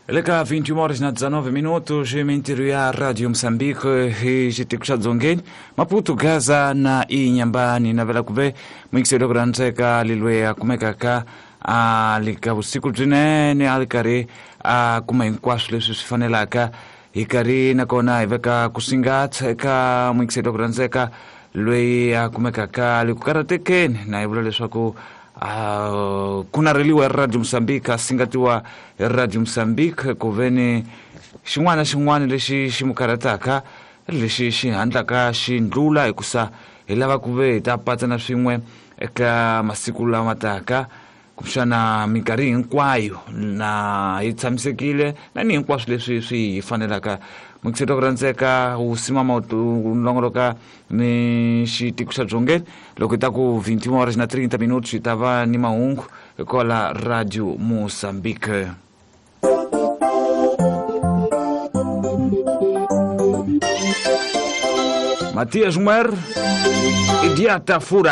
Leka 21 horas na 19 minutos, mintirho ya Radio Moçambique hi xitiko xa Dzongeni, Maputo, Gaza na Inhambane navela kuve muyingiseri ku rhandzeka lilwe a kumekaka a li ka vusiku byinene a li karhi a kuma hinkwaswo leswi swi fanelaka hi karhi nakona hi veka ku singatsa eka muyingiseri ku rhandzeka loyi a kumekaka a li ku karhatekeni na hi vula leswaku ku narheliwa hi Radio Mozambique a singatiwa hi Radio Mozambique ku veni xin'wana na xin'wana lexi xi mu karhataka lexi xi handlaka xi ndlula hikusa hi lava ku ve hi ta patsana swin'we eka masiku lama taka kumbexana minkarhi hinkwayo na hi tshamisekile na ni hinkwaswo leswi swi hi fanelaka. Muyingiseri wa ku rhandzeka wu simama wu longoloka ni xitiko xa Dzongeni loko hi ta ku 21 horas na 30 minutos hi ta va ni mahungu kwala Radio Mozambique. Matias Muer, Idiata Fura.